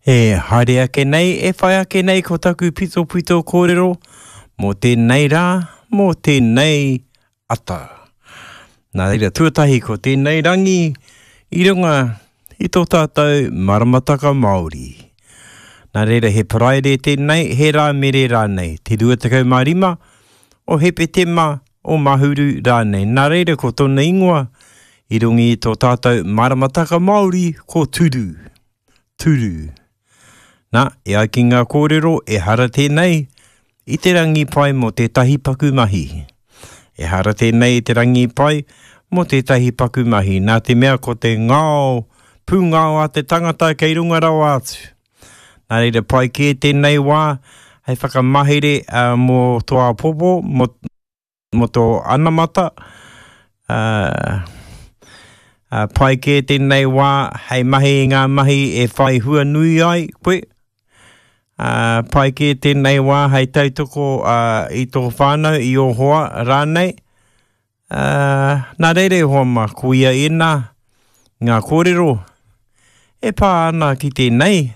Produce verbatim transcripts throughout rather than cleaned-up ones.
E haere ake nei, e whai ake nei ko taku pitopito kōrero mō tēnei rā, mō tēnei ata. Nā reira, tuatahi ko tēnei rangi i runga i tō tātou maramataka Māori. Nā reira, he Paraire tēnei, he Rāmere rānei, te rua tekau mā rima o Hepetema o Mahuru rānei. Nā reira, ko tōna ingoa i runga i tō tātou maramataka Māori ko Turu. Turu. Nā, e ai ki ngā kōrero, ehara tēnei i te rangi pai mō tētahi paku mahi. Ehara tēnei i te rangi pai mō tētahi paku mahi. Nā te mea ko te ngao, pūngao a te tangata kei runga rawa atu. Nā reira pai kē tēnei wā hei whakamahere uh, mō tō āpopo, mō, mō tō anamata. Uh, uh, pai kē tēnei wā hei mahi i ngā mahi e whai hua nui ai koe. Uh, pai kē tēnei wā hei tautoko uh, i tō whānau, i ō hoa rānei. Uh, nā reira e hoa mā, ko ia ēnā ngā kōrero e pā ana ki tēnei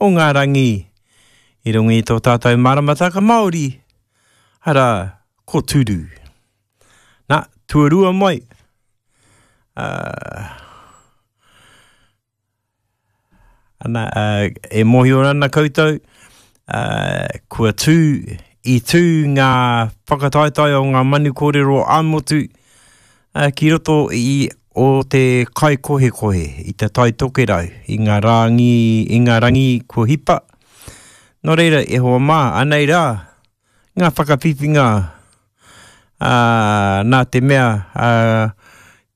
o ngā rangi i runga i tō tātou maramataka Māori, arā, ko Turu. Nā, tuarua mai. Uh, ana, uh, e mōhio ana koutou, uh, kua tū, i tū ngā whakataetae o ngā manu kōrero ā-motu uh, ki roto i o te kaikohekohe, i te Tai Tokerau, i ngā rangi, i ngā rangi kua hipa. Nō reira, e hoa mā, anei rā, ngā whakawhiwhinga uh, nā te mea, uh,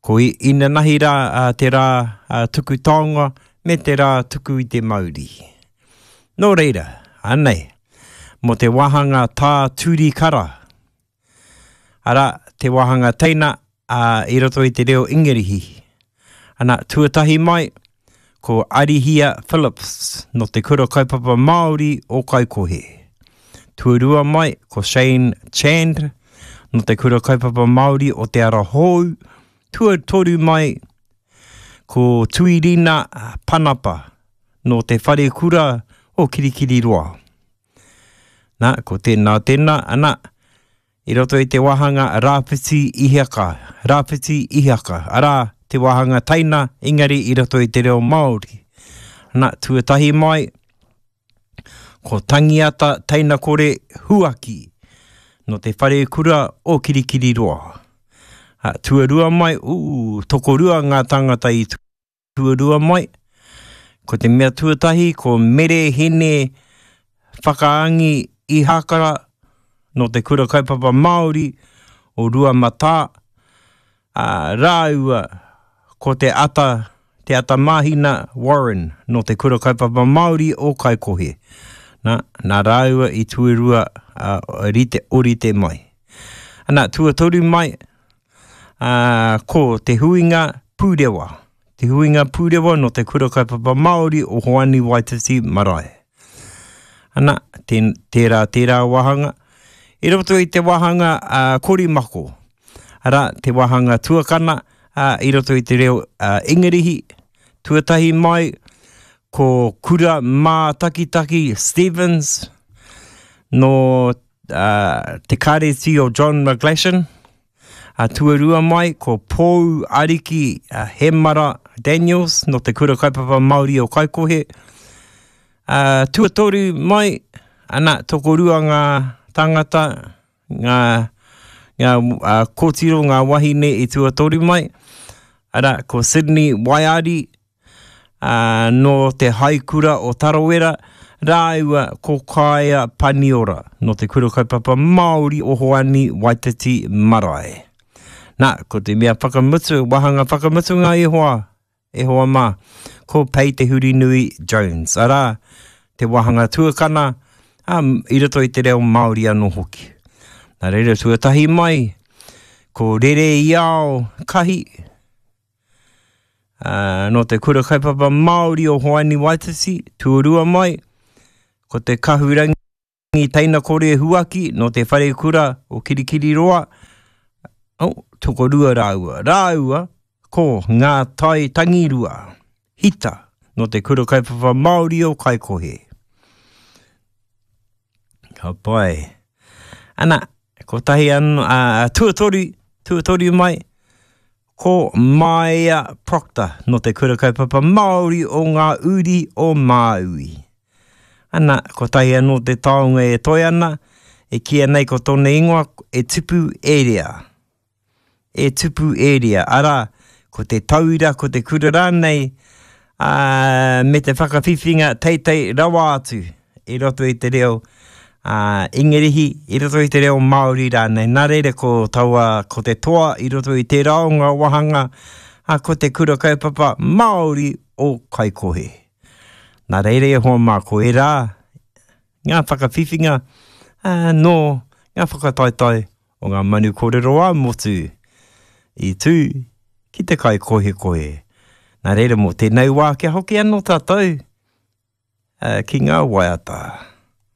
ko inanahi rā uh, te rā uh, tuku taonga me te rā tuku i te mauri. Nō reira, anei, mō te wāhanga tā turi kara, arā, te wāhanga teina uh, i roto i te reo Ingarihi. Ana, tuatahi mai, ko Arihia Phillips no te Kura Kaupapa Māori o Kaikohe. Tuarua mai, ko Shane Chand no te Kura Kaupapa Māori o Te Ara Hou. Tuatoru mai, ko Tuirina Panapa no te Wharekura o Kirikiriroa. Nā, ko tēnā tēnā, ana, i roto i te wāhanga Rāwhiti Ihaka, Rāwhiti Ihaka, arā, te wāhanga teina, engari i roto i te reo Māori. Nā, tuatahi mai, ko Tangiata Teinakore Huaki, no te Wharekura o Kirikiriroa. Ha, tuarua mai, ū, tokorua ngā tāngata i tuarua mai. Ko te mea tuatahi, ko Mere Hene Whakaangi Ihakara, no te Kura Kaupapa Māori o Ruamatā, uh, rāua ko te ata, te ata mahina Warren no te Kura Kaupapa Māori o Kaikohe. Nā, nā rāua i tuarua uh, rite, orite mai. Ana, tuatoru mai, uh, ko te huinga pūrewa. Te huinga pūrewa no te Kura Kaupapa Māori o Hoani Waititi Marae. Ana, tē, tērā, tērā wāhanga. I roto i te wāhanga uh, korimako, arā, te wāhanga tuakana uh, i roto i te reo uh, Ingarihi. Tuatahi mai, ko Kura Mātakitaki Stevens no uh, te Kāreti o John McGlashan. Uh, tuarua mai, ko Pou Ariki uh, Hemara Daniels no te Kura Kaupapa Māori o Kaikohe. Uh, tuatoru mai, ana, tokorua ngā tāngata, ngā, ngā uh, kōtiro, ngā wahine i tuatoru mai. Arā, ko Sydney Waiari, uh, no te Haikura o Tarawera, rāua ko Kaia Paniora, no te Kura Kaupapa Māori o Hoani Waititi Marae. Nā, ko te mea whakamutu, wāhanga whakamutunga e hoa, e hoa mā, ko Pei Te Hurinui Jones. Arā, te wāhanga tuakana, um, i roto i te reo Māori anō hoki. Nā reira tuatahi mai, ko Rere Iao Kahi, uh, no te Kura Kaupapa Māori o Hoani Waititi, tuarua mai, ko te Kahurangi Teinakore Huaki, no te Wharekura o Kirikiriroa, oh, tokorua rāua. Rāua, ko Ngā Tai Tangirua, Hita, nō te Kura Kaupapa Māori o Kaikohe. Ka pai. Ana, kotahi anō, uh, tuatoru, tuatoru mai, ko Maia Proctor nō te Kura Kaupapa Māori o Ngā Uri o Māui. Ana, kotahi anō te taonga e toe ana, e kīia nei ko tōna ingoa e tupu e rea. E tupu e rea, arā, ko te tauira, ko te kura rānei, ā, me te whakawhiwhinga teitei rawa atu i roto i te reo ā, Ingarihi, i roto i te reo Māori rānei. Nā reira ko taua, ko te toa i roto i tērā o ngā wāhanga, ā, ko te kura kaupapa Māori o Kaikohe. Nā reira e hoa mā, ko ērā ngā whakawhiwhinga ā, nō ngā whakataetae o ngā manu kōrero ā-motu i tū ki te kaikohekohe. Nā reira mō tēnei wā kia hoki anō tātou ki ngā waiata.